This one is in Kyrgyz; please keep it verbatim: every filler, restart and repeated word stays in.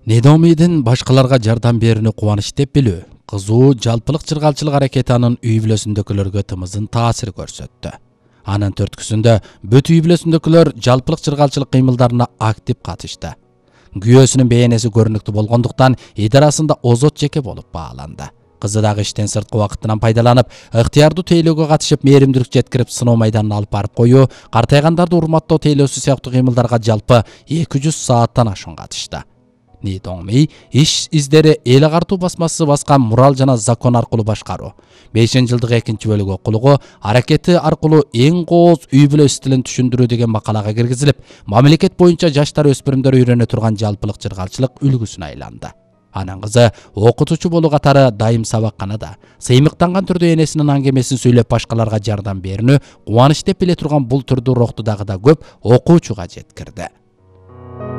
Недомидин башкаларга жардам берүүнү кубаныч деп билүү, кызуу жалпылык чыргалчылык аракети анын үй бүлөсүндөгүлөргө тымызын таасир көрсөттү. Анын төрткүсүндө бүт үй бүлөсүндөгүлөр жалпылык чыргалчылык кыймылдарына актив катышты. Күйөөсүнүн бейнеси көрүнүктүү болгондуктан идарасында озот жеке болуп бааланды. Кызы дагы иштен сырткы убакытынан пайдаланып, ыктыярдуу тейлөөгө катышып, мээримдүүлүк жеткирип, сыноо майданына алып барып коюу, картайгандарды урматтоо тейлөөсү сыяктуу кыймылдарга жалпы эки жүз сааттан ашуун катышты. Недоми иш издери эл агартуу басмасы баскан Мурал жана закон аркылуу башкаруу, бешинчи жылдык экинчи бөлүгү окулугу аракети аркылуу эң кооз үй бүлө стилин түшүндүрүү деген макалага киргизилип, мамлекет боюнча жаштар өспүрүмдөр үйрөнө турган жалпылык чыргалчылык үлгүсүнө айланды. Анын кызы окутуучу болуу катары дайым сабакканада, сыймыктанган түрдө энесинин аңгемесин сүйлөп башкаларга жардам берүүнү кубаныч деп биле турган бул түрдүү рухту дагы да көп окуучуга жеткирди.